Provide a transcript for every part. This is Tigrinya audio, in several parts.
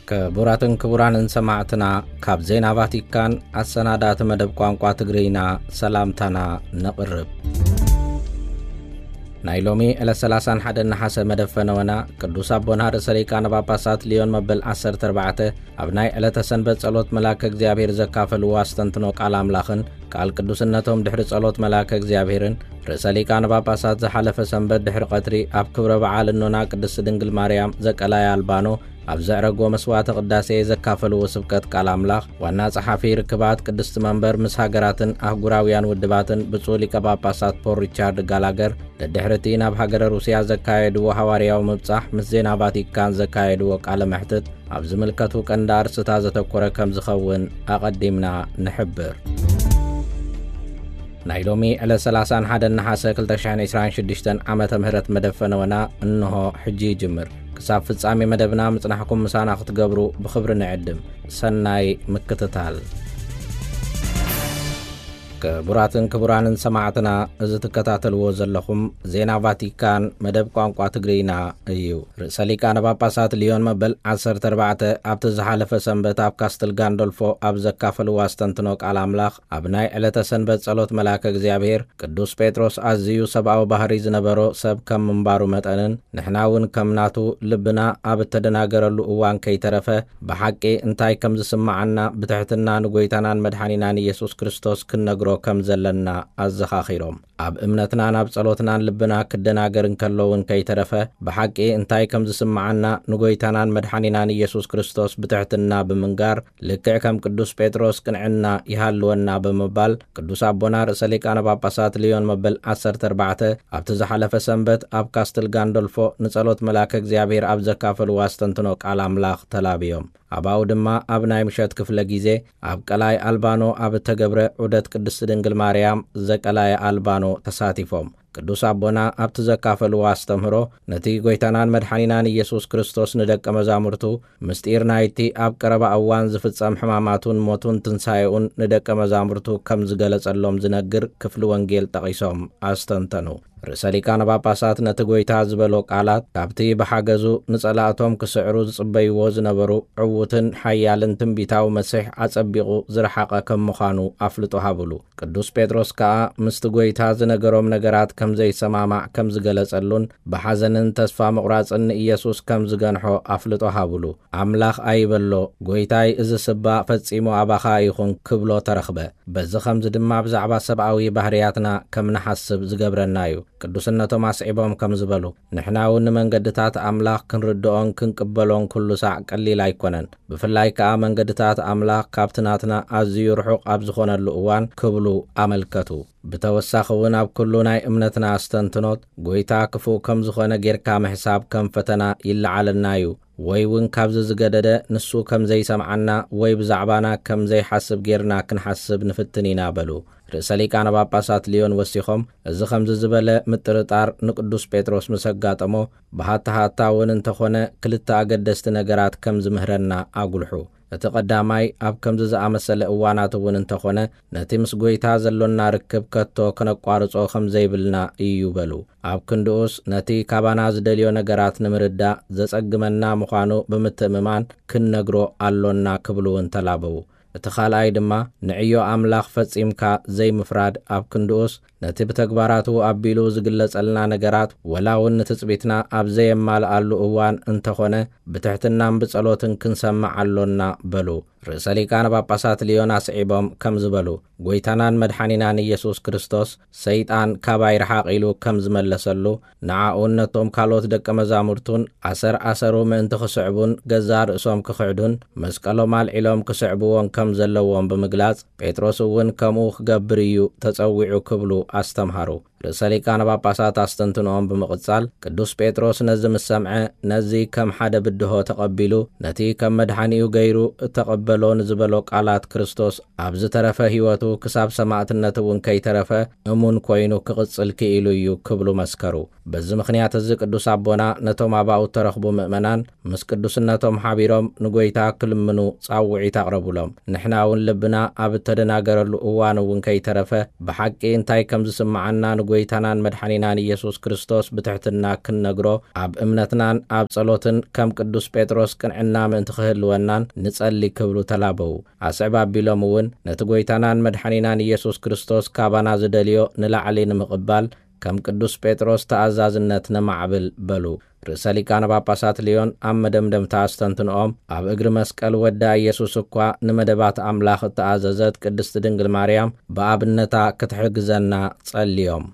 ክቡራትን ክቡራንን ሰማዕትና፣ ካብ ዜና ቫቲካን ኣሰናዳእቲ መደብ ቋንቋ ትግርይና ሰላምታና ነቕርብ። ናይ ሎሚ ዕለት ሰላሳን ሓደን ነሓሰ መደብ ፈነወና፣ ቅዱስ ኣቦና ርእሰ ሊቃነ ጳጳሳት ሊዮን መበል ዓሰርተ ኣርባዕተ ኣብ ናይ ዕለተ ሰንበት ጸሎት መልኣከ እግዚኣብሔር ዘካፈልዎ ኣስተንትኖ ቃል ኣምላኽን ቃል ቅዱስነቶም ድሕሪ ጸሎት መልኣከ እግዚኣብሔርን ርእሰ ሊቃነ ጳጳሳት ዝሓለፈ ሰንበት ድሕሪ ቀትሪ ኣብ ክብረ በዓል እኖና ቅድስት ድንግል ማርያም ዘቀላይ ኣልባኖ ኣብ ዘዕረጎ መስዋዕተ ቅዳሴ ዘካፈልዎ ስብከት ቃል ኣምላኽ ዋና ጸሓፊ ርክባት ቅድስቲ መንበር ምስ ሃገራትን ኣህጉራውያን ውድባትን ብፁዕ ሊቀ ጳጳሳት ፖል ሪቻርድ ጋላገር፣ ደድሕርቲ ናብ ሃገረ ሩስያ ዘካየድዎ ሃዋርያዊ ምብጻሕ ምስ ዜና ቫቲካን ዘካየድዎ ቃለ መሕትት ኣብ ዝምልከቱ ቀንዲ ኣርእስታት ዘተኮረ ከም ዝኸውን ኣቐዲምና ንሕብር። ናይ ሎሚ ዕለት ሰላሳን ሓደን ነሓሰ ክልተ ሽሕን ዕስራን ሽዱሽተን ዓመተ ምህረት መደብ ፈነወና እንሆ ሕጂ ይጅምር። ክሳብ ፍጻሜ መደብና ምጽናሕኩም ምሳና ክትገብሩ ብኽብሪ ንዕድም። ሰናይ ምክትታል። ክቡራትን ክቡራንን ሰማዕትና፣ እዚ ትከታተልዎ ዘለኹም ዜና ቫቲካን መደብ ቋንቋ ትግርይና እዩ። ርእሰ ሊቃነ ጳጳሳት ሊዮን መበል ዓሰርተ ኣርባዕተ ኣብቲ ዝሓለፈ ሰንበት ኣብ ካስትል ጋንዶልፎ ኣብ ዘካፈልዎ ኣስተንትኖ ቃል ኣምላኽ፣ ኣብ ናይ ዕለተ ሰንበት ጸሎት መልኣከ እግዚኣብሔር፣ ቅዱስ ጴጥሮስ ኣዝዩ ሰብኣዊ ባህሪ ዝነበሮ ሰብ ከም ምንባሩ መጠንን ንሕና እውን ከም ናቱ ልብና ኣብ እተደናገረሉ እዋን ከይተረፈ ብሓቂ እንታይ ከም ዝስምዓና ብትሕትና ንጎይታናን መድሓኒናን ኢየሱስ ክርስቶስ ክንነግሮ ከም ዘለና ኣዘኻኺሮም። ኣብ እምነትናን ኣብ ጸሎትናን ልብና ክደናገር እንከሎ እውን ከይተረፈ ብሓቂ እንታይ ከም ዝስምዓና ንጎይታናን መድሓኒናን ኢየሱስ ክርስቶስ ብትሕትና ብምንጋር ልክዕ ከም ቅዱስ ጴጥሮስ ቅንዕና ይሃልወና ብምባል ቅዱስ ኣቦና ርእሰ ሊቃነ ጳጳሳት ሊዮን መበል ዓሰርተ ኣርባዕተ ኣብቲ ዝሓለፈ ሰንበት ኣብ ካስትል ጋንዶልፎ ንጸሎት መልኣከ እግዚኣብሔር ኣብ ዘካፈልዎ ኣስተንትኖ ቃል ኣምላኽ ተላብዮም። ኣባኡ ድማ ኣብ ናይ ምሸት ክፍለ ግዜ ኣብ ቀላይ ኣልባኖ ኣብ እተገብረ ዑደት ቅድስቲ ድንግል ማርያም ዘቀላየ ኣልባኖ ተሳቲፎም። ቅዱስ ኣቦና ኣብቲ ዘካፈልዎ ኣስተምህሮ ነቲ ጎይታናን መድሓኒናን ኢየሱስ ክርስቶስ ንደቀ መዛሙርቱ ምስጢር ናይቲ ኣብ ቀረባ እዋን ዝፍጸም ሕማማቱን ሞቱን ትንሳኤኡን ንደቀ መዛሙርቱ ከም ዝገለጸሎም ዝነግር ክፍሊ ወንጌል ጠቒሶም ኣስተንተኑ። ርእሰ ሊቃነ ጳጳሳት ነቲ ጎይታ ዝበሎ ቃላት ካብቲ ብሓገዙ ንጸላእቶም ክስዕሩ ዝጽበይዎ ዝነበሩ ዕዉትን ሓያልን ትንቢታዊ መሲሕ ኣጸቢቑ ዝረሓቐ ከም ምዃኑ ኣፍልጦ ሃብሉ። ቅዱስ ጴጥሮስ ከኣ ምስቲ ጎይታ ዝነገሮም ነገራት ከም ዘይሰማማዕ ከም ዝገለጸሉን ብሓዘንን ተስፋ ምቑራጽን ንኢየሱስ ከም ዝገንሖ ኣፍልጦ ሃብሉ። ኣምላኽ ኣይበሎ፣ ጎይታይ እዚ ስባ ፈጺሙ ኣባኻ ይኹን ክብሎ ተረኽበ። በዚ ኸምዚ ድማ ብዛዕባ ሰብኣዊ ባህርያትና ከም ንሓስብ ዝገብረና እዩ። ቅዱስነቶም ኣስዒቦም ከም ዝበሉ፣ ንሕና እውን ንመንገድታት ኣምላኽ ክንርድኦን ክንቅበሎን ኩሉ ሳዕ ቀሊል ኣይኮነን። ብፍላይ ከኣ መንገድታት ኣምላኽ ካብቲ ናትና ኣዝዩ ርሑቕ ኣብ ዝኾነሉ እዋን ክብሉ ኣመልከቱ። ብተወሳኺ እውን ኣብ ኩሉ ናይ እምነትና ኣስተንትኖት ጎይታ ክፉእ ከም ዝኾነ ጌርካ ምሕሳብ ከም ፈተና ይለዓለና እዩ። ወይ እውን ካብዚ ዝገደደ ንሱ ከም ዘይሰምዓና ወይ ብዛዕባና ከም ዘይሓስብ ጌርና ክንሓስብ ንፍትን ኢና በሉ። ርእሰ ሊቃነ ጳጳሳት ሊዮን ወሲኾም፣ እዚ ከምዚ ዝበለ ምጥርጣር ንቅዱስ ጴጥሮስ ምስ ኣጋጠሞ፣ ብሃታ ሃታ እውን እንተኾነ ክልተ ኣገደስቲ ነገራት ከም ዝምህረና ኣጉልሑ። እቲ ቀዳማይ፣ ኣብ ከምዚ ዝኣመሰለ እዋናት እውን እንተኾነ፣ ነቲ ምስ ጐይታ ዘሎና ርክብ ከቶ ከነቋርጾ ከም ዘይብልና እዩ በሉ። ኣብ ክንድኡስ፣ ነቲ ካባና ዝደልዮ ነገራት ንምርዳእ ዘጸግመና ምዃኑ ብምትእምማን ክንነግሮ ኣሎና ክብሉ እውን ተላበዉ። እቲ ካልኣይ ድማ፣ ንዕዮ ኣምላኽ ፈጺምካ ዘይምፍራድ፣ ኣብ ክንድኡስ፣ ነቲ ብተግባራቱ ኣቢሉ ዝግለጸልና ነገራት፣ ወላ እውን ንትጽቢትና ኣብ ዘየማልኣሉ እዋን እንተኾነ፣ ብትሕትናን ብጸሎትን ክንሰምዕ ኣሎና በሉ። ርእሰ ሊቃነ ጳጳሳት ሊዮን ኣስዒቦም ከምዚ በሉ፣ ጐይታናን መድሓኒናን ኢየሱስ ክርስቶስ፣ ሰይጣን ካባይ ርሓቕ ኢሉ ከም ዝመለሰሉ፣ ንዓኡን ነቶም ካልኦት ደቀ መዛሙርቱን ኣሰር ኣሰሩ ምእንቲ ክስዕቡን ገዛእ ርእሶም ክኽሕዱን መስቀሎም ኣልዒሎም ክስዕብዎን ከም ዘለዎም ብምግላጽ፣ ጴጥሮስ እውን ከምኡ ክገብር እዩ ተጸዊዑ ክብሉ ኣስተምሃሩ። ርእሰ ሊቃነ ጳጳሳት ኣስተንትኖኦም ብምቕጻል፣ ቅዱስ ጴጥሮስ ነዚ ምስ ሰምዐ፣ ነዚ ከም ሓደ ብድሆ ተቐቢሉ፣ ነቲ ከም መድሓኒኡ ገይሩ እተቐበሎ ንዝበሎ ቃላት ክርስቶስ፣ ኣብ ዝተረፈ ህይወቱ ክሳብ ሰማእትነት እውን ከይተረፈ እሙን ኮይኑ ክቕጽል ክኢሉ እዩ ክብሉ መስከሩ። በዚ ምኽንያት እዚ ቅዱስ ኣቦና ነቶም ኣባኡ እተረኽቡ ምእመናን ምስ ቅዱስነቶም ሓቢሮም ንጐይታ ክልምኑ ጻውዒት ኣቕረቡሎም። ንሕና እውን ልብና ኣብ እተደናገረሉ እዋን እውን ከይተረፈ ብሓቂ እንታይ ከም ዝስምዓና ንጉ-፣ ጎይታናን መድሓኒናን ኢየሱስ ክርስቶስ ብትሕትና ክንነግሮ፣ ኣብ እምነትናን ኣብ ጸሎትን ከም ቅዱስ ጴጥሮስ ቅንዕና ምእንቲ ክህልወናን ንጸሊ ክብሉ ተላበዉ። ኣስዕብ ኣቢሎም እውን ነቲ ጎይታናን መድሓኒናን ኢየሱስ ክርስቶስ ካባና ዝደልዮ ንላዕሊ ንምቕባል ከም ቅዱስ ጴጥሮስ ተኣዛዝነት ነማዕብል በሉ። ርእሰ ሊቃነ ጳጳሳት ልዮን ኣብ መደምደምታ ኣስተንትንኦም፣ ኣብ እግሪ መስቀል ወዳ ኢየሱስ እኳ ንመደባት ኣምላኽ እተኣዘዘት ቅድስቲ ድንግል ማርያም ብኣብነታ ክትሕግዘና ጸልዮም።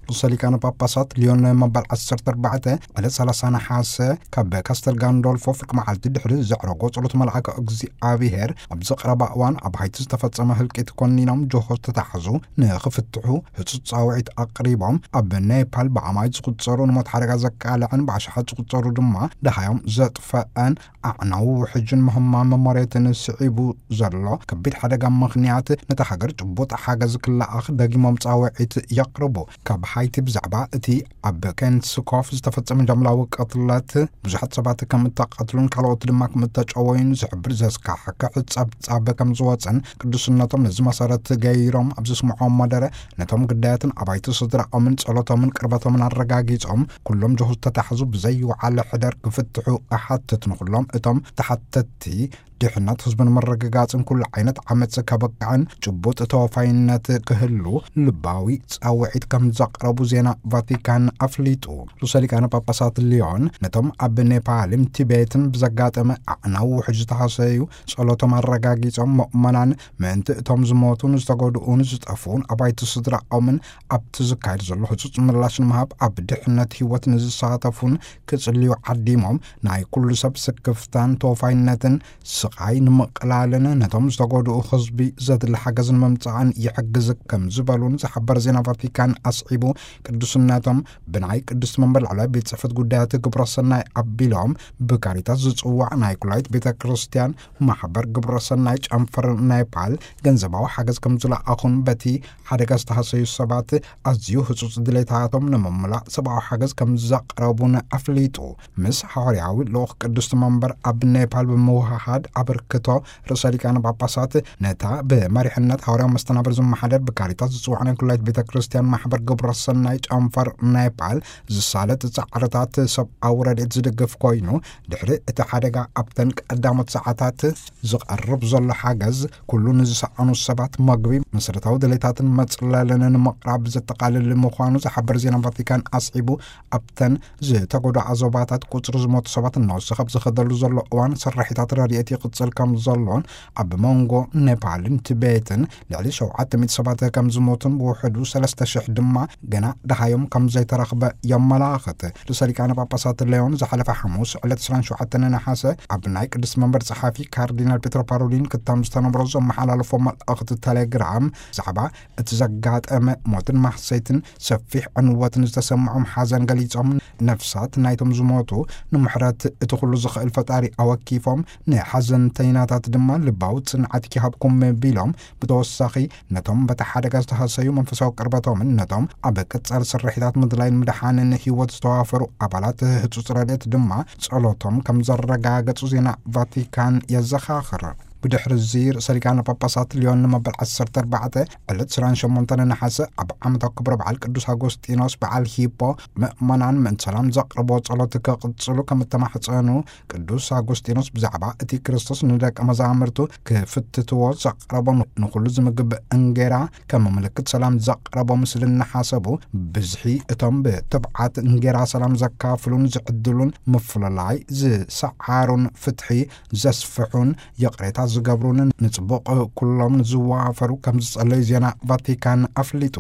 ርእሰ ሊቃነ ጳጳሳት ልዮን መበል ዓሰርተ ኣርባዕተ ዕለት ሰላሳ ነሓሰ ካብ ካስተል ጋንዶልፎ ፍርቂ መዓልቲ ድሕሪ ዘዕረጎ ጸሎት መልኣከ እግዚኣብሔር ኣብዚ ቀረባ እዋን ኣብ ሃይቲ ዝተፈጸመ ህልቂት ኮኒኖም ጆሆ ዝተታሕዙ ንኽፍትሑ ህጹጽ ጻውዒት ኣቕሪቦም፣ ኣብ ኔፓል ብኣማኢት ዝቑጸሩ ንሞት ሓደጋ ዘቃልዐን ብኣሽሓት ዝቑጸሩ ድማ ደሃዮም ዘጥፈአን ኣዕናዊ ውሕጅን ምህማም መሬትን ስዒቡ ዘሎ ከቢድ ሓደጋ ምኽንያት ነታ ሃገር ጭቡጥ ሓገዝ ክለኣኽ ደጊሞም ጻውዒት የቕርቡ። ካብ ሃይቲ ብዛዕባ እቲ ኣብ ኬንስኮፍ ዝተፈጸመ ጃምላዊ ቅትለት ብዙሓት ሰባት ከም እተቐትሉን ካልኦት ድማ ከም እተጨወዩን ዝሕብር ዘስካሕክሕ ጸብጻብ ከም ዝወጸን ቅዱስነቶም ነዚ መሰረት ገይሮም ኣብ ዘስምዖም መደረ ነቶም ግዳያትን ኣባይቲ ስድራኦምን ጸሎቶምን ቅርበቶምን ኣረጋጊጾም ኩሎም ጆሆ ዝተታሕዙ ብዘይወዓለ ሕደር ክፍትሑ እሓትት። ንኹሎም እቶም ተሓተትቲ ድሕነት ህዝብን ምርግጋጽን ኩሉ ዓይነት ዓመጽ ከበቅዕን ጭቡጥ ተወፋይነት ክህሉ ልባዊ ጻውዒት ከም ዘቕረቡ ዜና ቫቲካን ኣፍሊጡ። ርእሰ ሊቃነ ጳጳሳት ሊዮን ነቶም ኣብ ኔፓልን ቲቤትን ብዘጋጠመ ኣዕናዊ ውሕጅ ዝተሃሰዩ ጸሎቶም ኣረጋጊጾም፣ ምእመናን ምእንቲ እቶም ዝሞቱን ዝተጎድኡን ዝጠፍኡን ኣባይቲ ስድራኦምን ኣብቲ ዝካየድ ዘሎ ህጹጽ ምላሽ ንምሃብ ኣብ ድሕነት ህይወት ንዝሳተፉን ክጽልዩ ዓዲሞም፣ ናይ ኩሉ ሰብ ስክፍታን ተወፋይነትን ስቓይ ንምቕላልን ነቶም ዝተጎድኡ ህዝቢ ዘድሊ ሓገዝ ንምምጻእን ይሕግዝ ከም ዝበሉን ዝሓበር ዜና ቫቲካን ኣስዒቡ፣ ቅዱስነቶም ብናይ ቅድስቲ መንበር ላዕለዋይ ቤት ጽሕፈት ጉዳያት ግብረ ሰናይ ኣቢሎም ብካሪታስ ዝጽዋዕ ናይ ኩላይት ቤተ ክርስቲያን ማሕበር ግብረ ሰናይ ጨንፈር ኔፓል ገንዘባዊ ሓገዝ ከም ዝለኣኹን በቲ ሓደጋ ዝተሃሰዩ ሰባት ኣዝዩ ህጹጽ ድሌታቶም ንምምላእ ሰብኣዊ ሓገዝ ከም ዘቕረቡን ኣፍሊጡ። ምስ ሓዋርያዊ ልኡኽ ቅድስቲ መንበር ኣብ ኔፓል ብምውህሃድ ኣበርክቶ ርእሰ ሊቃነ ጳጳሳት ነታ ብመሪሕነት ሓዋርያዊ መስተናብር ዝመሓደር ብካሪታስ ዝጽዋዕ ናይ ኩላይት ቤተ ክርስቲያን ማሕበር ግብረ ሰናይ ጨንፈር ኔፓል ዝሳለጥ ጻዕርታት ሰብኣዊ ረድኤት ዝድግፍ ኮይኑ፣ ድሕሪ እቲ ሓደጋ ኣብተን ቀዳሞት ሰዓታት ዝቐርብ ዘሎ ሓገዝ ኩሉ ንዝሰኣኑ ሰባት መግቢ፣ መሰረታዊ ድሌታትን መጽለልን ንምቕራብ ዘጠቓልል ምዃኑ ዝሓበር ዜና ቫቲካን ኣስዒቡ፣ ኣብተን ዝተጎድኣ ዞባታት ቁጽሪ ዝሞቱ ሰባት እናወሰኸ ኣብ ዝኸደሉ ዘሎ እዋን ስርሒታት ረድኤት ይቕጽል ከም ዘሎን ኣብ መንጎ ኔፓልን ቲቤትን ልዕሊ ሸውዓተ ሚእቲ ሰባት ከም ዝሞቱን ብውሕዱ ሰለስተ ሽሕ ድማ ገና ደሃዮም ከም ዘይተረኽበ የመላኽት። ርእሰ ሊቃነ ጳጳሳት ሌዮን ዝሓለፈ ሓሙስ ዕለት ዕስራን ሸውዓተን ነሓሰ ኣብ ናይ ቅድስቲ መንበር ጸሓፊ ካርዲናል ፔትሮ ፓሮሊን ክታም ዝተነብሮ ዘመሓላለፎ መልእኽቲ ቴሌግራም ብዛዕባ እቲ ዘጋጠመ ሞትን ማህሰይትን ሰፊሕ ዕንወትን ዝተሰምዖም ሓዘን ገሊጾም፣ ነፍሳት ናይቶም ዝሞቱ ንምሕረት እቲ ኩሉ ዝኽእል ፈጣሪ ኣወኪፎም፣ ንሓዘንተይናታት ድማ ልባዊ ጽንዓት ይሃብኩም ቢሎም፣ ብተወሳኺ ነቶም በቲ ሓደጋ ዝተሃሰዩ መንፈሳዊ ቅርበቶምን ነቶም ኣብ ቅጻል ስርሒታት ምድላይን ምድሓንን ህይወት ዝተዋፈሩ ኣባላት ህጹጽ ረድኤት ድማ ጸሎቶም ከም ዘረጋገጹ ዜና ቫቲካን የዘኻኽር። ብድሕሪ እዚ ርእሰ ሊቃነ ጳጳሳት ሊዮን ንመበል ዓሰርተ ኣርባዕተ ዕለት ዕስራን ሸሞንተን ነሓሰ ኣብ ዓመታዊ ክብረ በዓል ቅዱስ ኣጎስጢኖስ በዓል ሂፖ ምእመናን ምእንቲ ሰላም ዘቕርቦ ጸሎት ክቕጽሉ ከም እተማሕጸኑ፣ ቅዱስ ኣጎስጢኖስ ብዛዕባ እቲ ክርስቶስ ንደቀ መዛሙርቱ ክፍትትዎ ዘቕረቦ ንኹሉ ዝምግብ እንጌራ ከም ምልክት ሰላም ዘቕረቦ ምስልን እናሓሰቡ፣ ብዝሒ እቶም ብትብዓት እንጌራ ሰላም ዘካፍሉን ዝዕድሉን፣ ምፍልላይ ዝሰዓሩን፣ ፍትሒ ዘስፍሑን፣ ይቕሬታ ዝገብሩን ንጽቡቕ ኩሎም ዝዋፈሩ ከም ዝጸለዩ ዜና ቫቲካን ኣፍሊጡ።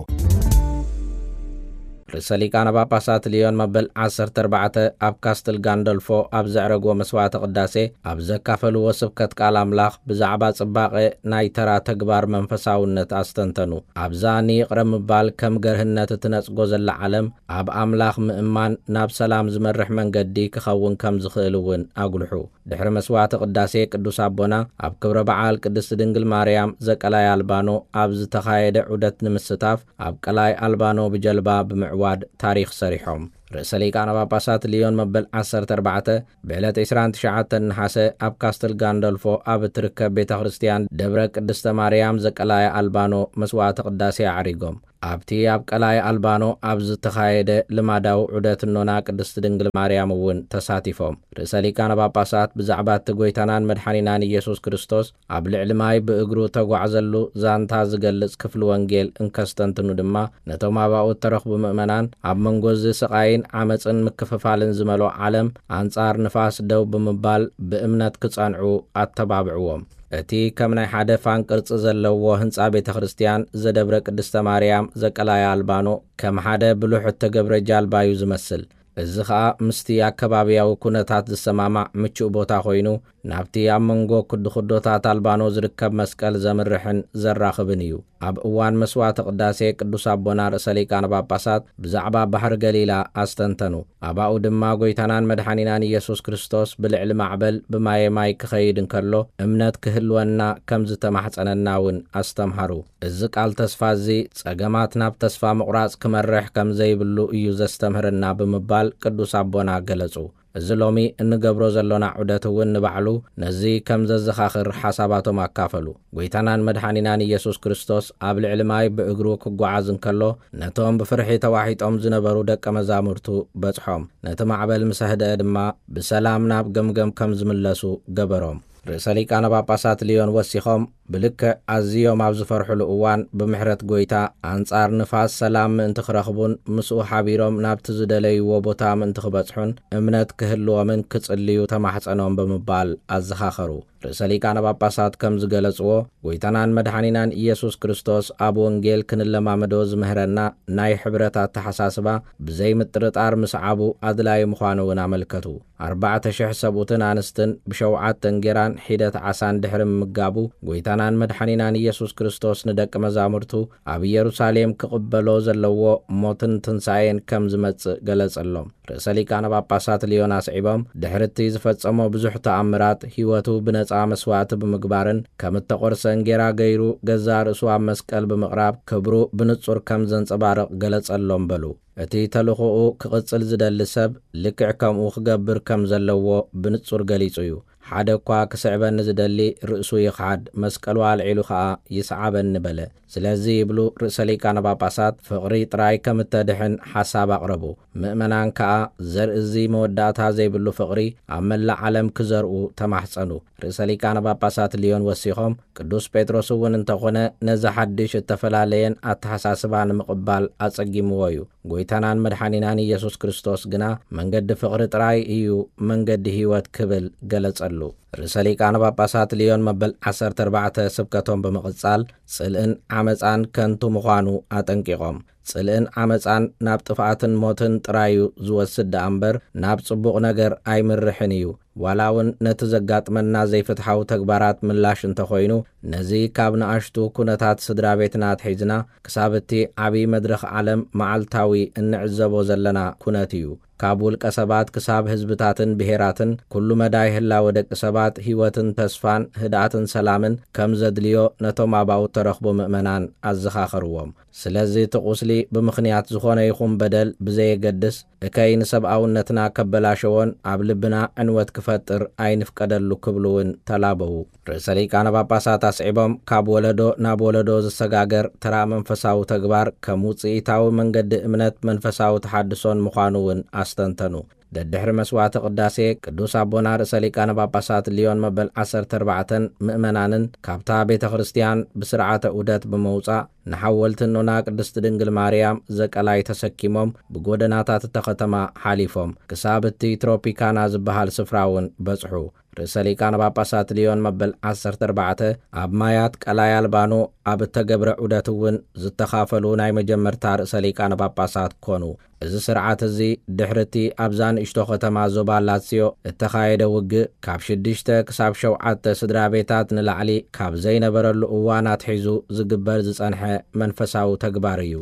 ርእሰ ሊቃነ ጳጳሳት ሊዮን መበል ዓሰርተ ኣርባዕተ ኣብ ካስትል ጋንደልፎ ኣብ ዘዕረግዎ መስዋዕተ ቅዳሴ ኣብ ዘካፈልዎ ስብከት ቃል ኣምላኽ ብዛዕባ ጽባቐ ናይ ተራ ተግባር መንፈሳውነት ኣስተንተኑ። ኣብዛ ንይቕረ ምባል ከም ገርህነት እትነጽጎ ዘላ ዓለም ኣብ ኣምላኽ ምእማን ናብ ሰላም ዝመርሕ መንገዲ ክኸውን ከም ዝኽእል እውን ኣጉልሑ። ድሕሪ መስዋዕተ ቅዳሴ ቅዱስ ኣቦና ኣብ ክብረ በዓል ቅድስቲ ድንግል ማርያም ዘቀላይ ኣልባኖ ኣብ ዝተኻየደ ዑደት ንምስታፍ ኣብ ቀላይ ኣልባኖ ብጀልባ ብምዕዋድ ታሪኽ ሰሪሖም። ርእሰ ሊቃነ ጳጳሳት ሊዮን መበል ዓሰርተ ኣርባዕተ ብዕለት ዕስራን ትሽዓተን ነሓሰ ኣብ ካስትል ጋንደልፎ ኣብ እትርከብ ቤተ ክርስቲያን ደብረ ቅድስተ ማርያም ዘቀላያ ኣልባኖ መስዋዕተ ቅዳሴ ኣዕሪጎም። ኣብቲ ኣብ ቀላይ ኣልባኖ ኣብ ዝተኻየደ ልማዳዊ ዑደት እኖና ቅድስቲ ድንግል ማርያም እውን ተሳቲፎም። ርእሰ ሊቃነ ጳጳሳት ብዛዕባ እቲ ጎይታናን መድሓኒናን ኢየሱስ ክርስቶስ ኣብ ልዕሊ ማይ ብእግሩ ተጓዕዘሉ ዛንታ ዝገልጽ ክፍሊ ወንጌል እንከስተንትኑ ድማ፣ ነቶም ኣባኡ እተረኽቡ ምእመናን ኣብ መንጎ እዚ ስቓይን ዓመጽን ምክፍፋልን ዝመልኦ ዓለም ኣንጻር ንፋስ ደው ብምባል ብእምነት ክጸንዑ ኣተባብዕዎም። እቲ ከም ናይ ሓደ ፋን ቅርጺ ዘለዎ ህንጻ ቤተ ክርስቲያን ዘደብረ ቅድስተ ማርያም ዘቀላያ ኣልባኖ ከም ሓደ ብሉሕ እተገብረ ጃልባ እዩ ዝመስል። እዚ ኸኣ ምስቲ ኣከባብያዊ ኩነታት ዝሰማማዕ ምቹእ ቦታ ኮይኑ፣ ናብቲ ኣብ መንጎ ክድኹዶታት ኣልባኖ ዝርከብ መስቀል ዘምርሕን ዘራኽብን እዩ። ኣብ እዋን መስዋዕተ ቅዳሴ ቅዱስ ኣቦና ርእሰ ሊቃነ ጳጳሳት ብዛዕባ ባሕሪ ገሊላ ኣስተንተኑ። ኣባኡ ድማ ጎይታናን መድሓኒናን ኢየሱስ ክርስቶስ ብልዕሊ ማዕበል ብማየ ማይ ክኸይድ እንከሎ እምነት ክህልወና ከም ዝተማሕጸነና እውን ኣስተምሃሩ። እዚ ቃል ተስፋ እዚ ጸገማት ናብ ተስፋ ምቑራጽ ክመርሕ ከም ዘይብሉ እዩ ዘስተምህረና ብምባል ቅዱስ ኣቦና ገለጹ። እዚ ሎሚ እንገብሮ ዘሎና ዑደት እውን ንባዕሉ ነዚ ከም ዘዘኻኽር ሓሳባቶም ኣካፈሉ። ጎይታናን መድሓኒናን ኢየሱስ ክርስቶስ ኣብ ልዕሊ ማይ ብእግሩ ክጓዓዝ እንከሎ፣ ነቶም ብፍርሒ ተዋሒጦም ዝነበሩ ደቀ መዛሙርቱ በጽሖም። ነቲ ማዕበል ምስ ኣህደአ ድማ ብሰላም ናብ ገምገም ከም ዝምለሱ ገበሮም። ርእሰ ሊቃነ ጳጳሳት ልዮን ወሲኾም፣ ብልክዕ ኣዝዮም ኣብ ዝፈርሕሉ እዋን ብምሕረት ጎይታ ኣንጻር ንፋስ ሰላም ምእንቲ ክረኽቡን ምስኡ ሓቢሮም ናብቲ ዝደለይዎ ቦታ ምእንቲ ክበጽሑን እምነት ክህልዎምን ክጽልዩ ተማሕጸኖም ብምባል ኣዘኻኸሩ። ርእሰ ሊቃነ ጳጳሳት ከም ዝገለጽዎ፣ ጎይታናን መድሓኒናን ኢየሱስ ክርስቶስ ኣብ ወንጌል ክንለማመዶ ዝምህረና ናይ ሕብረት ኣተሓሳስባ ብዘይ ምጥርጣር ምስዓቡ ኣድላዪ ምዃኑ እውን ኣመልከቱ። ኣርባዕተ ሽሕ ሰብኡትን ኣንስትን ብሸውዓተ እንጌራን ሒደት ዓሳን ድሕሪ ምምጋቡ፣ ጎይታናን መድሓኒናን ኢየሱስ ክርስቶስ ንደቂ መዛሙርቱ ኣብ ኢየሩሳሌም ክቕበሎ ዘለዎ ሞትን ትንሳኤን ከም ዝመጽእ ገለጸሎም። ርእሰ ሊቃነ ጳጳሳት ልዮን ኣስዒቦም፣ ድሕሪ እቲ ዝፈጸሞ ብዙሕ ተኣምራት፣ ህይወቱ ብነጻ መስዋዕቲ ብምግባርን ከም እተቖርሰ እንጌራ ገይሩ ገዛእ ርእሱ ኣብ መስቀል ብምቕራብ ክብሩ ብንጹር ከም ዘንጸባርቕ ገለጸሎም በሉ። እቲ ተልእኾኡ ክቕጽል ዝደሊ ሰብ ልክዕ ከምኡ ክገብር ከም ዘለዎ ብንጹር ገሊጹ እዩ። ሓደ እኳ ክስዕበኒ ዝደሊ ርእሱ ይኽሓድ፣ መስቀሉ ኣልዒሉ ኸኣ ይስዓበኒ በለ። ስለዚ ይብሉ ርእሰ ሊቃነ ጳጳሳት፣ ፍቕሪ ጥራይ ከም እተድሕን ሓሳብ ኣቕረቡ። ምእመናን ከኣ ዘርኢ እዚ መወዳእታ ዘይብሉ ፍቕሪ ኣብ መላእ ዓለም ክዘርኡ ተማሕጸኑ። ርእሰ ሊቃነ ጳጳሳት ልዮን ወሲኾም፣ ቅዱስ ጴጥሮስ እውን እንተኾነ ነዚ ሓድሽ እተፈላለየን ኣተሓሳስባ ንምቕባል ኣጸጊምዎ እዩ። ጎይታናን መድሓኒናን ኢየሱስ ክርስቶስ ግና መንገዲ ፍቕሪ ጥራይ እዩ፣ መንገዲ ህይወት ክብል ገለጸሉ። ርእሰ ሊቃነ ጳጳሳት ልዮን መበል ዓሰርተ ኣርባዕተ ስብከቶም ብምቕጻል ጽልእን ዓመጻን ከንቱ ምዃኑ ኣጠንቂቖም፣ ጽልእን ዓመጻን ናብ ጥፍኣትን ሞትን ጥራይ እዩ ዝወስድ ደኣ እምበር ናብ ጽቡቕ ነገር ኣይምርሕን እዩ። ዋላ እውን ነቲ ዘጋጥመና ዘይፍትሓዊ ተግባራት ምላሽ እንተኾይኑ፣ ነዚ ካብ ንኣሽቱ ኩነታት ስድራ ቤትና ኣትሒዝና ክሳብ እቲ ዓብዪ መድረኽ ዓለም መዓልታዊ እንዕዘቦ ዘለና ኩነት እዩ። ካብ ውልቀ ሰባት ክሳብ ህዝብታትን ብሄራትን፣ ኩሉ መዳይ ህላወ ደቂ ሰባት ህይወትን ተስፋን ህድኣትን ሰላምን ከም ዘድልዮ ነቶም ኣባኡ እተረኽቡ ምእመናን ኣዘኻኸርዎም። ስለዚ እቲ ቁስሊ ብምኽንያት ዝኾነ ይኹን በደል ብዘየገድስ፣ እከይ ንሰብኣውነትና ከበላሸዎን ኣብ ልብና ዕንወት ክፈጥር ኣይንፍቀደሉ ክብሉ እውን ተላበዉ። ርእሰ ሊቃነ ጳጳሳት ኣስዒቦም፣ ካብ ወለዶ ናብ ወለዶ ዝሰጋገር ተራ መንፈሳዊ ተግባር ከም ውጽኢታዊ መንገዲ እምነት መንፈሳዊ ተሓድሶን ምዃኑ እውን ኣስተንተኑ። ደድሕሪ መስዋዕቲ ቅዳሴ ቅዱስ ኣቦና ርእሰ ሊቃነ ጳጳሳት ልዮን መበል ዓሰርተ ኣርባዕተን ምእመናንን ካብታ ቤተ ክርስቲያን ብስርዓተ ዑደት ብምውጻእ ንሓወልቲ እኖና ቅድስቲ ድንግል ማርያም ዘቀላይ ተሰኪሞም ብጎደናታት እታ ከተማ ሓሊፎም ክሳብ እቲ ትሮፒካና ዝበሃል ስፍራ እውን በጽሑ። ርእሰ ሊቃነ ጳጳሳት ልዮን መበል ዓሰርተ ኣርባዕተ ኣብ ማያት ቀላይ ኣልባኖ ኣብ እተገብረ ዑደት እውን ዝተኻፈሉ ናይ መጀመርታ ርእሰ ሊቃነ ጳጳሳት ኮኑ። እዚ ስርዓት እዚ ድሕሪ እቲ ኣብዛ ንእሽቶ ከተማ ዞባ ላትስዮ እተኻየደ ውግእ ካብ ሽዱሽተ ክሳብ ሸውዓተ ስድራ ቤታት ንላዕሊ ካብ ዘይነበረሉ እዋን ኣትሒዙ ዝግበር ዝጸንሐ መንፈሳዊ ተግባር እዩ።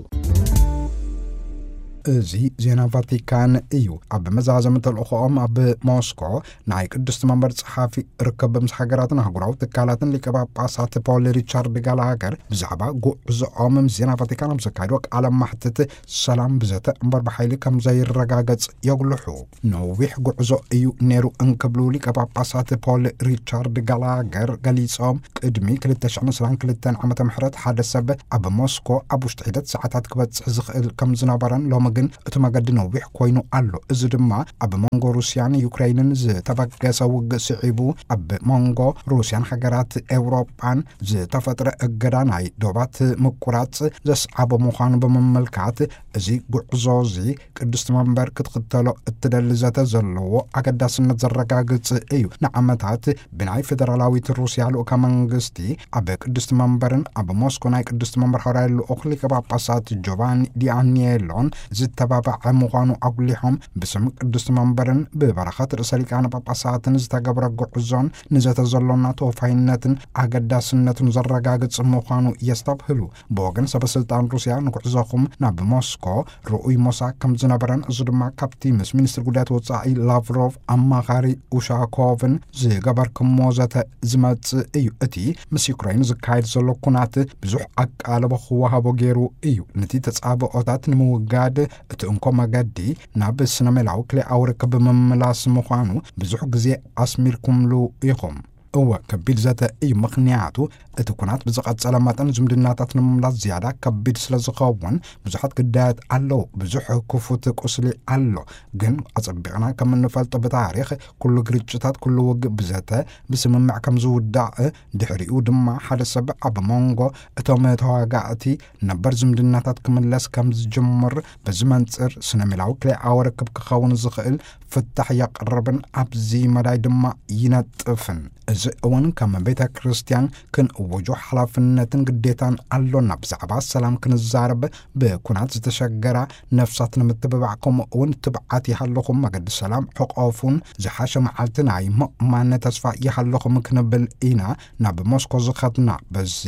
እዚ ዜና ቫቲካን እዩ። ኣብ መዛዘሚ ተልእኾኦም ኣብ ሞስኮ ናይ ቅድስቲ መንበር ጸሓፊ ርክብ ምስ ሃገራትን ኣህጉራዊ ትካላትን ሊቀ ጳጳሳት ፖል ሪቻርድ ጋላገር ብዛዕባ ጉዕዞኦም ምስ ዜና ቫቲካን ኣብ ዘካየድዎ ቃለ ማሕትት፣ ሰላም ብዘተ እምበር ብሓይሊ ከም ዘይረጋገጽ የጉልሑ። ነዊሕ ጉዕዞ እዩ ነይሩ እንክብሉ ሊቀ ጳጳሳት ፖል ሪቻርድ ጋላገር ገሊጾም፣ ቅድሚ ክልተ ሽሕን ዕስራን ክልተን ዓመተ ምህረት ሓደ ሰብ ኣብ ሞስኮ ኣብ ውሽጢ ሒደት ሰዓታት ክበጽሕ ዝኽእል ከም ዝነበረን፣ ሎሚ ግን እቲ መገዲ ነዊሕ ኮይኑ ኣሎ። እዚ ድማ ኣብ መንጎ ሩስያን ዩክሬንን ዝተበገሰ ውግእ ስዒቡ ኣብ መንጎ ሩስያን ሃገራት ኤውሮጳን ዝተፈጥረ እገዳ ናይ ዶባት ምቁራጽ ዘስዓቦ ምዃኑ ብምምልካት፣ እዚ ጉዕዞ እዚ ቅድስቲ መንበር ክትኽተሎ እትደሊ ዘተ ዘለዎ ኣገዳስነት ዘረጋግጽ እዩ። ንዓመታት ብናይ ፌደራላዊት ሩስያ ልኡከ መንግስቲ ኣብ ቅድስቲ መንበርን ኣብ ሞስኮ ናይ ቅድስቲ መንበር ሃዋርያዊ ልኡኽ ሊቀ ጳጳሳት ጆቫኒ ዲኣኒየሎን ዝተባባዐ ምዃኑ ኣጉሊሖም፣ ብስም ቅድስቲ መንበርን ብበረኸት ርእሰ ሊቃነ ጳጳሳትን ዝተገብረ ጉዕዞን ንዘተ ዘሎና ተወፋይነትን ኣገዳስነቱን ዘረጋግጽ ምዃኑ የስተብህሉ። ብወገን ሰበ ስልጣን ሩስያ ንጉዕዞኹም ናብ ሞስኮ ርኡይ ሞሳ ከም ዝነበረን፣ እዚ ድማ ካብቲ ምስ ሚኒስትሪ ጉዳያት ወጻኢ ላቭሮቭ ኣማኻሪ ኡሻኮቭን ዝገበርክሞ ዘተ ዝመጽእ እዩ። እቲ ምስ ዩክሬን ዝካየድ ዘሎ ኩናት ብዙሕ ኣቃልቦ ክወሃቦ ገይሩ እዩ። ነቲ ተጻብኦታት ንምውጋድ እቲ እንኮ መገዲ ናብ ስነ ሜላዊ ክልኤኣዊ ርክብ ምምላስ ምዃኑ ብዙሕ ግዜ ኣስሚርኩምሉ ኢኹም። እወ፣ ከቢድ ዘተ እዩ፣ ምኽንያቱ እቲ ኩናት ብዝቐጸለ መጠን ዝምድናታት ንምምላስ ዝያዳ ከቢድ ስለ ዝኸውን ብዙሓት ግዳያት ኣለዉ። ብዙሕ ክፉት ቁስሊ ኣሎ። ግን ኣጸቢቕና ከም እንፈልጦ ብታሪኽ ኩሉ ግርጭታት፣ ኩሉ ውግእ ብዘተ፣ ብስምምዕ ከም ዝውዳእ፣ ድሕሪኡ ድማ ሓደ ሰብ ኣብ መንጎ እቶም ተዋጋእቲ ነበር ዝምድናታት ክምለስ ከም ዝጅምር፣ በዚ መንጽር ስነ ሜላዊ ክልኤኣዊ ርክብ ክኸውን ዝኽእል ፍታሕ የቕርብን ኣብዚ መዳይ ድማ ይነጥፍን። እዚ እውን ከም ቤተ ክርስቲያን ክንእውጆ ሓላፍነትን ግዴታን ኣሎና። ብዛዕባ ሰላም ክንዛረብ፣ ብኩናት ዝተሸገራ ነፍሳት ንምትብባዕ፣ ከምኡ እውን ትብዓት ይሃለኹም፣ መገዲ ሰላም ሕቆፉን፣ ዝሓሸ መዓልቲ ናይ ምእማን ተስፋ ይሃለኹም ክንብል ኢና ናብ ሞስኮ ዝኸድና። በዚ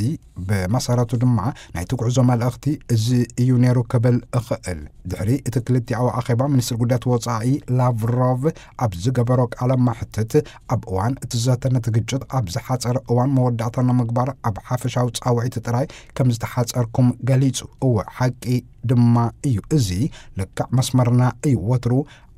ብመሰረቱ ድማ ናይቲ ጉዕዞ መልእኽቲ እዚ እዩ ነይሩ ክብል እኽእል። ድሕሪ እቲ ክልቲኣዊ ኣኼባ፣ ሚኒስትሪ ጉዳያት ወጻኢ ላቭሮቭ ኣብ ዝገበሮ ቃለ መሕትት፣ ኣብ እዋን እቲ ዘተ ነቲ ግጭት ኣብ ዝሓጸረ እዋን መወዳእታ ንምግባር ኣብ ሓፈሻዊ ጻውዒት ጥራይ ከም ዝተሓጸርኩም ገሊጹ። እወ፣ ሓቂ ድማ እዩ። እዚ ልክዕ መስመርና እዩ። ወትሩ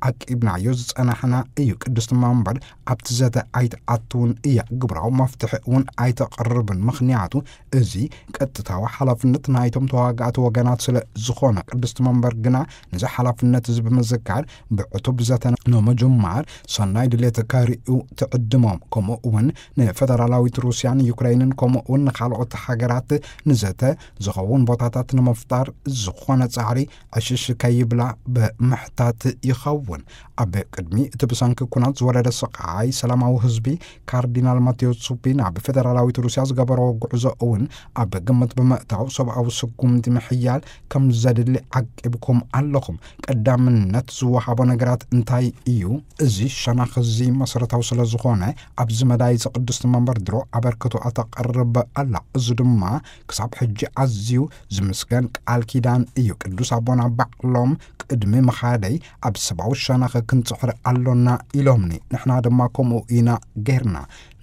ዓቂብናዮ ዝጸናሕና እዩ። ቅድስቲ መንበር ኣብቲ ዘተ ኣይትኣትውን እያ፣ ግብራዊ መፍትሒ እውን ኣይተቕርብን፣ ምኽንያቱ እዚ ቀጥታዊ ሓላፍነት ናይቶም ተዋጋእቲ ወገናት ስለ ዝኾነ። ቅድስቲ መንበር ግና ነዚ ሓላፍነት እዚ ብምዝካር፣ ብዕቱብ ዘተ ንምጅማር ሰናይ ድሌት ከርእዩ ትዕድሞም። ከምኡ እውን ንፈደራላዊት ሩስያን ዩክሬንን፣ ከምኡ እውን ንኻልኦት ሃገራት ንዘተ ዝኸውን ቦታታት ንምፍጣር ዝኾነ ጻዕሪ ዕሽሽ ከይብላ ብምሕታት ይኸውን። ኣብ ቅድሚ እቲ ብሰንኪ ኩናት ዝወረደ ስቓይ ሰላማዊ ህዝቢ፣ ካርዲናል ማቴዎ ሱፒ ናብ ፌደራላዊት ሩስያ ዝገበሮ ጉዕዞ እውን ኣብ ግምት ብምእታው፣ ሰብኣዊ ስጉምቲ ምሕያል ከም ዘድሊ ዓቂብኩም ኣለኹም። ቀዳምነት ዝወሃቦ ነገራት እንታይ እዩ? እዚ ሸነኽ እዚ መሰረታዊ ስለ ዝኾነ፣ ኣብዚ መዳይ እዚ ቅድስቲ መንበር ድሮ ኣበርክቶኣ ተቕርብ ኣላ። እዚ ድማ ክሳብ ሕጂ ኣዝዩ ዝምስገን ቃል ኪዳን እዩ። ቅዱስ ኣቦና ባዕሎም ቅድሚ ምኻደይ ኣብ ሰብኣዊ ሸነኽ ክንጽሕር ኣሎና ኢሎምኒ። ንሕና ድማ ከምኡ ኢና ጌርና።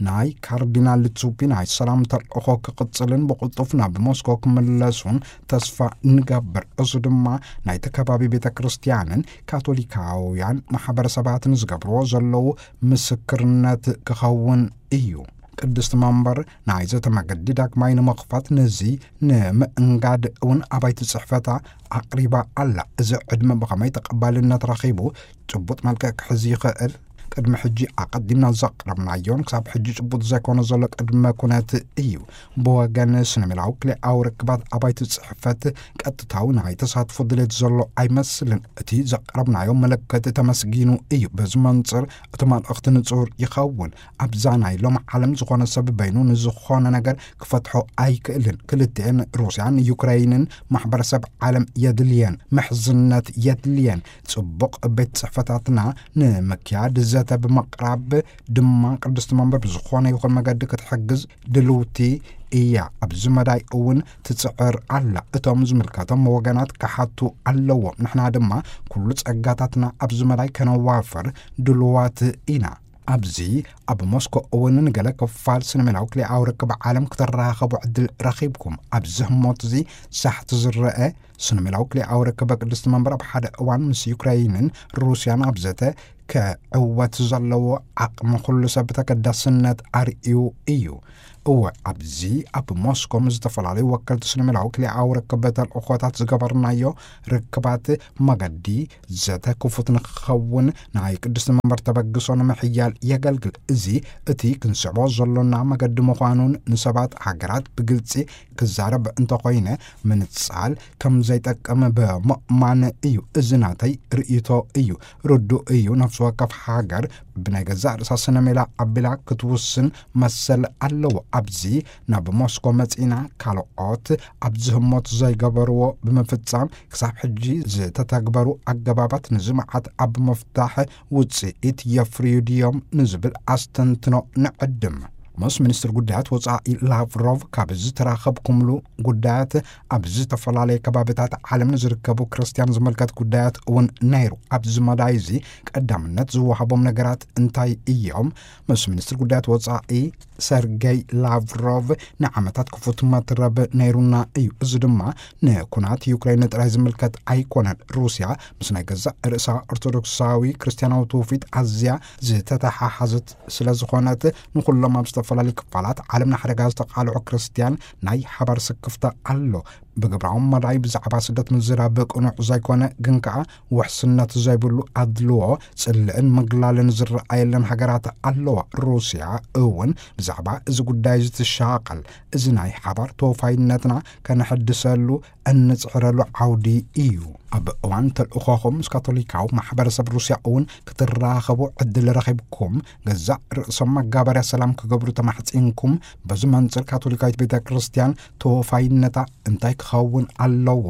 ናይ ካርዲናል ዙፒ ናይ ሰላም ተልእኾ ክቕጽልን ብቕልጡፍ ናብ ሞስኮ ክምለሱን ተስፋ ንገብር። እዚ ድማ ናይቲ ከባቢ ቤተ ክርስቲያንን ካቶሊካውያን ማሕበረሰባትን ዝገብርዎ ዘለዉ ምስክርነት ክኸውን እዩ። ቅድስቲ መንበር ናይዚ እቲ መገዲ ዳግማይ ንምኽፋት፣ ነዚ ንምእንጋድ እውን ኣባይቲ ጽሕፈታ ኣቕሪባ ኣላ። እዚ ዕድመ ብኸመይ ተቐባልነት ረኺቡ፣ ጭቡጥ መልክዕ ክሕዝ ይኽእል? ቅድሚ ሕጂ ኣቐዲምና ዘቕረብናዮን ክሳብ ሕጂ ጭቡጥ ዘይኮነ ዘሎ ቅድመ ኩነት እዩ። ብወገን ስነ ሜላዊ ክልኤኣዊ ርክባት ኣባይቲ ጽሕፈት ቀጥታዊ ናይ ተሳትፎ ድሌት ዘሎ ኣይመስልን። እቲ ዘቕረብናዮ ምልክት ተመስጊኑ እዩ። በዚ መንጽር እቲ መልእኽቲ ንጹር ይኸውን። ኣብዛ ናይ ሎሚ ዓለም ዝኾነ ሰብ በይኑ ንዝኾነ ነገር ክፈትሖ ኣይክእልን። ክልቲኤን ሩስያን ዩክረይንን ማሕበረሰብ ዓለም የድልየን፣ ምሕዝነት የድልየን። ጽቡቕ ቤት ጽሕፈታትና ንምክያድ ዘተ ብምቕራብ ድማ ቅድስቲ መንበር ብዝኾነ ይኹን መገዲ ክትሕግዝ ድልውቲ እያ። ኣብዚ መዳይ እውን ትጽዕር ኣላ። እቶም ዝምልከቶም ወገናት ክሓቱ ኣለዎም። ንሕና ድማ ኩሉ ጸጋታትና ኣብዚ መዳይ ከነዋፍር ድልዋት ኢና። ኣብዚ ኣብ ሞስኮ እውን ንገለ ክፋል ስነ-ሜላዊ ክልኤኣዊ ርክብ ዓለም ክትራኸቡ ዕድል ረኺብኩም። ኣብዚ ህሞት እዚ ሳሕቲ ዝረአ ስነ-ሜላዊ ክልኤኣዊ ርክብ ቅድስቲ መንበር ኣብ ሓደ እዋን ምስ ዩክራይንን ሩስያን ኣብ ዘተ ክዕወት ዘለዎ ዓቕሚ ኩሉ ሰብ ተገዳስነት ኣርእዩ እዩ። እወ፣ ኣብዚ ኣብ ሞስኮ ምስ ዝተፈላለዩ ወከልቲ ስነ-ሜላዊ ክልኤኣዊ ርክብ ተልእኾታት ዝገበርናዮ ርክባት መገዲ ዘተ ክፉት ንክኸውን ናይ ቅድስቲ መንበር ተበግሶ ንምሕያል የገልግል። እዚ እቲ ክንስዕቦ ዘሎና መገዲ ምዃኑን ንሰባት ሃገራት ብግልጺ ክዛረብ እንተኾይነ ምንጻል ከም ዘይጠቅም ብምእማን እዩ። እዚ ናተይ ርእይቶ እዩ። ርዱእ እዩ። ነፍሲ ወከፍ ሃገር ብናይ ገዛእ ርእሳ ስነ ሜላ ኣቢላ ክትውስን መሰል ኣለዎ። ኣብዚ ናብ ሞስኮ መጺና ካልኦት ኣብዚ ህሞት ዘይገበርዎ ብምፍጻም ክሳብ ሕጂ ዝተተግበሩ ኣገባባት ንዚ መዓት ኣብ ምፍታሕ ውጽኢት የፍርዩ ድዮም ንዝብል ኣስተንትኖ ንዕድም። ምስ ሚኒስትር ጉዳያት ወጻኢ ላቭሮቭ ካብ ዝተራኸብኩምሉ ጉዳያት ኣብ ዝተፈላለየ ከባቢታት ዓለም ንዝርከቡ ክርስትያን ዝምልከት ጉዳያት እውን ነይሩ። ኣብዚ መዳይ እዚ ቀዳምነት ዝወሃቦም ነገራት እንታይ እዮም? ምስ ሚኒስትር ጉዳያት ወጻኢ ሰርጌይ ላቭሮቭ ንዓመታት ክፉት መትረብ ነይሩና እዩ። እዚ ድማ ንኩናት ዩክሬን ጥራይ ዝምልከት ኣይኮነን። ሩስያ ምስ ናይ ገዛእ ርእሳ ኦርቶዶክሳዊ ክርስትያናዊ ትውፊት ኣዝያ ዝተተሓሓዘት ስለ ዝኾነት፣ ንኹሎም ኣብ ዝተፈላለዩ ክፋላት ዓለም ንሓደጋ ዝተቓልዑ ክርስትያን ናይ ሓባር ስክፍታ ኣሎ። ብግብራዊ መዳይ ብዛዕባ ስደት ምዝራብ ቅኑዕ ዘይኮነ፣ ግን ከኣ ውሕስነት ዘይብሉ ኣድልዎ፣ ጽልእን ምግላልን ዝረኣየለን ሃገራት ኣለዋ። ሩስያ እውን ብዛዕባ እዚ ጉዳይ እዚ ትሻቐል። እዚ ናይ ሓባር ተወፋይነትና ከነሐድሰሉ እንጽዕረሉ ዓውዲ እዩ። ኣብ እዋን ተልእኾኹም ምስ ካቶሊካዊ ማሕበረሰብ ሩስያ እውን ክትራኸቡ ዕድል ረኺብኩም፣ ገዛእ ርእሶም መጋበርያ ሰላም ክገብሩ ተማሕጺንኩም፣ በዚ መንጽር ካቶሊካዊት ቤተ ክርስቲያን ተወፋይነታ እንታይ ክኸውን ኣለዎ?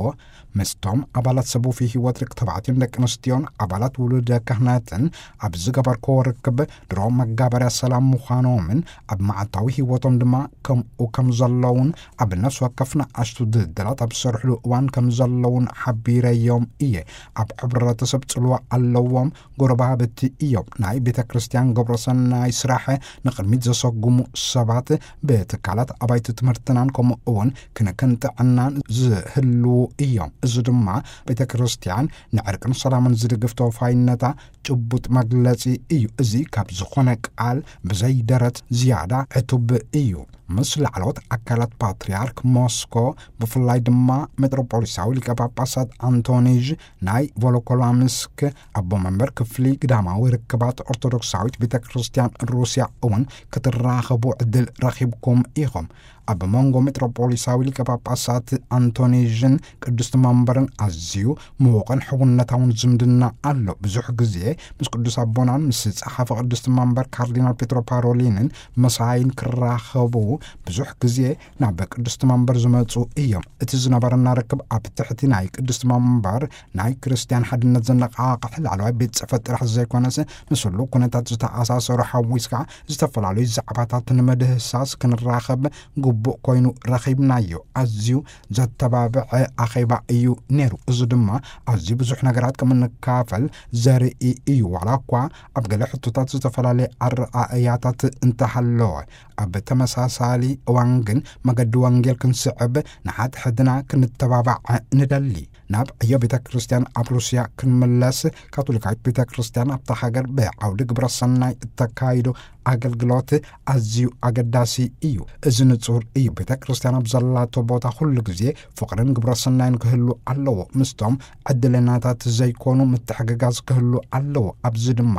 ምስቶም ኣባላት ሰብ ውፉይ ህይወት ደቂ ተባዕትዮን ደቂ ኣንስትዮን ኣባላት ውሉደ ካህናትን ኣብ ዝገበርክዎ ርክብ ድሮ መጋበርያ ሰላም ምዃኖምን ኣብ መዓልታዊ ህይወቶም ድማ ከምኡ ከም ዘለውን ኣብ ነፍሲ ወከፍ ንኣሽቱ ድልድላት ኣብ ዝሰርሕሉ እዋን ከም ዘለውን ሓቢረዮም እየ። ኣብ ሕብረተሰብ ጽልዋ ኣለዎም፣ ጎረባብቲ እዮም። ናይ ቤተ ክርስቲያን ግብረ ሰናይ ስራሕ ንቕድሚት ዘሰጉሙ ሰባት ብትካላት ኣባይቲ ትምህርትናን ከምኡ እውን ክንክን ጥዕናን ዝህልዉ እዮም። እዚ ድማ ቤተ ክርስቲያን ንዕርቅን ሰላምን ዝድግፍ ተወፋይነታ ጭቡጥ መግለጺ እዩ። እዚ ካብ ዝኾነ ቃል ብዘይ ደረት ዝያዳ ዕቱብ እዩ። ምስ ላዕለዎት ኣካላት ፓትርያርክ ሞስኮ፣ ብፍላይ ድማ ሜትሮፖሊሳዊ ሊቀ ጳጳሳት ኣንቶኒዥ ናይ ቮሎኮላምስክ ኣቦ መንበር ክፍሊ ግዳማዊ ርክባት ኦርቶዶክሳዊት ቤተ ክርስቲያን ሩስያ እውን ክትራኸቡ ዕድል ረኺብኩም ኢኹም። ኣብ መንጎ ሜትሮፖሊሳዊ ሊቀ ጳጳሳት ኣንቶኒዥን ቅድስቲ መንበርን ኣዝዩ ምዉቕን ሕውነታውን ዝምድና ኣሎ። ብዙሕ ግዜ ምስ ቅዱስ ኣቦናን ምስ ጸሓፊ ቅድስቲ መንበር ካርዲናል ፔትሮ ፓሮሊንን መሳይን ክራኸቡ ብዙሕ ግዜ ናብ ቅድስቲ መንበር ዝመጹ እዮም። እቲ ዝነበረና ርክብ ኣብ ትሕቲ ናይ ቅድስቲ መንበር ናይ ክርስትያን ሓድነት ዘነቓቕሕ ላዕለዋይ ቤት ጽሕፈት ጥራሕ ዘይኮነስ፣ ምስ ህሉው ኩነታት ዝተኣሳሰሩ ሓዊስካ ዝተፈላለዩ ዛዕባታት ንምድህሳስ ክንራኸብ ግቡእ ኮይኑ ረኺብናዮ። ኣዝዩ ዘተባብዐ ኣኼባ እዩ ነይሩ። እዚ ድማ ኣዝዩ ብዙሕ ነገራት ከም እንካፈል ዘርኢ እዩ። ዋላ እኳ ኣብ ገለ ሕቶታት ዝተፈላለየ ኣረኣእያታት እንተሃለወ፣ ኣብ ተመሳሳሊ እዋን ግን መገዲ ወንጌል ክንስዕብ፣ ንሓድሕድና ክንተባባዕ ንደሊ። ናብ ዕዮ ቤተ ክርስቲያን ኣብ ሩስያ ክንምለስ፣ ካቶሊካዊት ቤተ ክርስቲያን ኣብታ ሃገር ብዓውዲ ግብረ ሰናይ እተካይዶ ኣገልግሎት ኣዝዩ ኣገዳሲ እዩ። እዚ ንጹር እዩ። ቤተ ክርስቲያን ኣብ ዘላቶ ቦታ ኩሉ ግዜ ፍቕርን ግብረ ሰናይን ክህሉ ኣለዎ። ምስቶም ዕድለኛታት ዘይኮኑ ምትሕግጋዝ ክህሉ ኣለዎ። ኣብዚ ድማ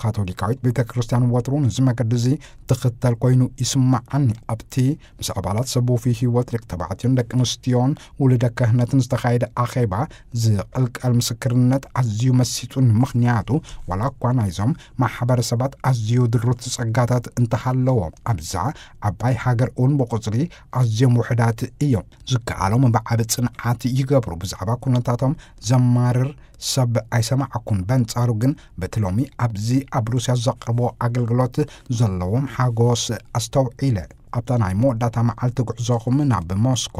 ካቶሊካዊት ቤተ ክርስቲያን ወትሩ ነዚ መገዲ እዚ ትኽተል ኮይኑ ይስምዓኒ። ኣብቲ ምስ ኣባላት ሰብ ውፉይ ህይወት ደቂ ተባዕትዮን ደቂ ኣንስትዮን ውሉደ ክህነትን ዝተኻየደ ኣኼባ ዝቕልቀል ምስክርነት ኣዝዩ መሲጡኒ። ምኽንያቱ ዋላ እኳ ናይዞም ማሕበረሰባት ኣዝዩ ድሩት ጸጋታት እንተሃለዎም፣ ኣብዛ ዓባይ ሃገር እውን ብቁጽሪ ኣዝዮም ውሑዳት እዮም። ዝከኣሎም ብዓቢ ጽንዓት ይገብሩ። ብዛዕባ ኩነታቶም ዘማርር ሰብ ኣይሰማዕኩን። በንጻሩ ግን በቲ ሎሚ ኣብዚ ኣብ ሩስያ ዘቕርቦ ኣገልግሎት ዘለዎም ሓጎስ ኣስተውዒለ። ኣብታ ናይ መወዳእታ መዓልቲ ጉዕዞኹም ናብ ሞስኮ፣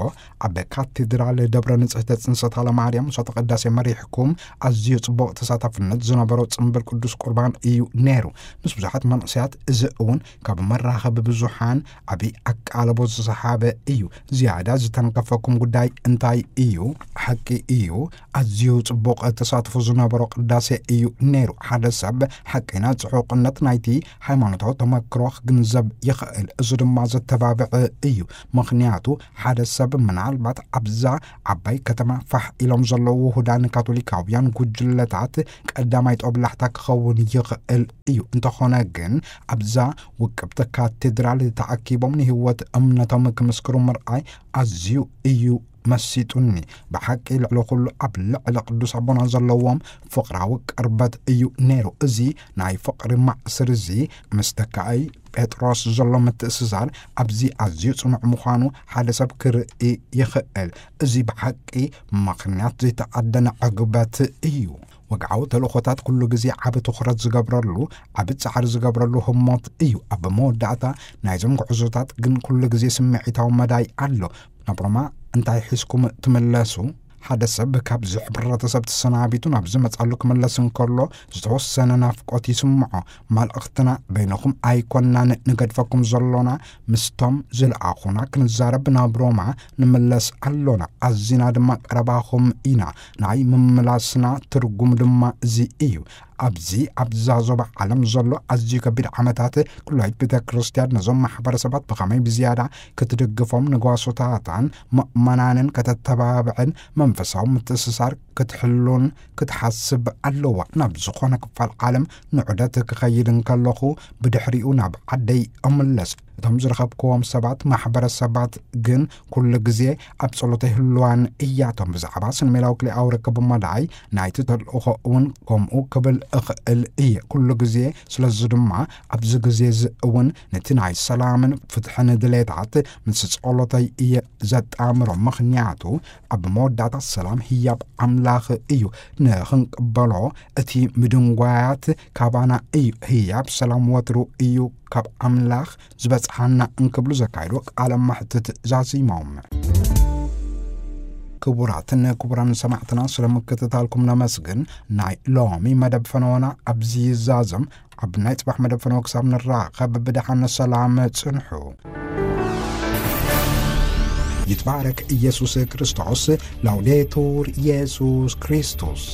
ኣብ ካቴድራል ደብረ ንጽሕተ ጽንሰት ሃለማርያም ምሳተ ቅዳሴ መሪሕኩም፣ ኣዝዩ ጽቡቕ ተሳታፍነት ዝነበሮ ጽምብል ቅዱስ ቁርባን እዩ ነይሩ። ምስ ብዙሓት መንእሰያት፣ እዚ እውን ካብ መራኸቢ ብዙሓን ዓቢ ኣቃልቦ ዝሰሓበ እዩ። ዝያዳ ዝተንከፈኩም ጉዳይ እንታይ እዩ? ሓቂ እዩ፣ ኣዝዩ ጽቡቕ ተሳትፎ ዝነበሮ ቅዳሴ እዩ ነይሩ። ሓደ ሰብ ሓቀይና ጽዑቕነት ናይቲ ሃይማኖታዊ ተመክሮ ክግንዘብ ይኽእል። እዚ ድማ ዘተባብዕ እዩ። ምኽንያቱ፣ ሓደ ሰብ ምናልባት ኣብዛ ዓባይ ከተማ ፋሕ ኢሎም ዘለዉ ውሁዳን ካቶሊካውያን ጉጅለታት ቀዳማይ ጦብላሕታ ክኸውን ይኽእል እዩ። እንተኾነ ግን፣ ኣብዛ ውቅብቲ ካቴድራል ተኣኪቦም ንህይወት እምነቶም ክምስክሩ ምርኣይ ኣዝዩ እዩ መሲጡኒ። ብሓቂ፣ ልዕሊ ኩሉ ኣብ ልዕሊ ቅዱስ ኣቦና ዘለዎም ፍቕራዊ ቅርበት እዩ ነይሩ። እዚ ናይ ፍቕሪ ማእስር እዚ፣ ምስ ተካኣይ ጴጥሮስ ዘሎ ምትእስሳር ኣብዚ ኣዝዩ ጽኑዕ ምዃኑ ሓደ ሰብ ክርኢ ይኽእል። እዚ ብሓቂ ምኽንያት ዘይተኣደነ ዕግበት እዩ። ወግዓዊ ተልእኾታት ኩሉ ግዜ ዓቢ ትኹረት ዝገብረሉ፣ ዓቢ ጻዕሪ ዝገብረሉ ህሞት እዩ። ኣብ መወዳእታ ናይዞም ጉዕዞታት ግን ኩሉ ግዜ ስምዒታዊ መዳይ ኣሎ። ናብ ሮማ እንታይ ሒዝኩም ትምለሱ? ሓደ ሰብ ካብዚ ሕብረተሰብ ተሰናቢቱ ናብ ዝመጻሉ ክምለስ እንከሎ፣ ዝተወሰነ ናፍቆት ይስምዖ። መልእኽትና፣ በይንኹም ኣይኮናን ንገድፈኩም ዘሎና፣ ምስቶም ዝለኣኹና ክንዛረብ ናብ ሮማ ንምለስ ኣሎና። ኣዚና ድማ ቀረባኹም ኢና። ናይ ምምላስና ትርጉም ድማ እዚ እዩ። ኣብዚ፣ ኣብዛ ዞባ ዓለም ዘሎ ኣዝዩ ከቢድ ዓመታት፣ ኩላይት ቤተ ክርስቲያን ነዞም ማሕበረሰባት ብኸመይ ብዝያዳ ክትድግፎም፣ ንጓሶታታን ምእመናንን ከተተባብዕን፣ መንፈሳዊ ምትእስሳር ክትሕሉን ክትሓስብ ኣለዋ። ናብ ዝኾነ ክፋል ዓለም ንዑደት ክኸይድ እንከለኹ፣ ብድሕሪኡ ናብ ዓደይ እምለስ። እቶም ዝረኸብክዎም ሰባት፣ ማሕበረሰባት ግን ኩሉ ግዜ ኣብ ጸሎተይ ህልዋን እያቶም። ብዛዕባ ስነ-ሜላዊ ክልኤኣዊ ርክብ መዳይ ናይቲ ተልእኾ እውን ከምኡ ክብል እኽእል እየ። ኩሉ ግዜ፣ ስለዚ ድማ ኣብዚ ግዜ እዚ እውን ነቲ ናይ ሰላምን ፍትሕን ድሌታት ምስ ጸሎተይ እየ ዘጣምሮ። ምኽንያቱ ኣብ መወዳእታ ሰላም ህያብ ኣምላኽ እዩ። ንኽንቅበሎ እቲ ምድንጓያት ካባና እዩ። ህያብ ሰላም ወትሩ እዩ ካብ ኣምላኽ ዝበጽሓና እንክብሉ ዘካየድዎ ቃለ መሕትት ዛዚሞም። ክቡራትን ክቡራን ሰማዕትና፣ ስለ ምክትታልኩም ነመስግን። ናይ ሎሚ መደብ ፈነወና ኣብዚ ይዛዘም። ኣብ ናይ ጽባሕ መደብ ፈነወ ክሳብ ንራኸብ፣ ብደሓን ሰላም ጽንሑ። ይትባረክ ኢየሱስ ክርስቶስ። ላውዴቱር ኢየሱስ ክርስቶስ።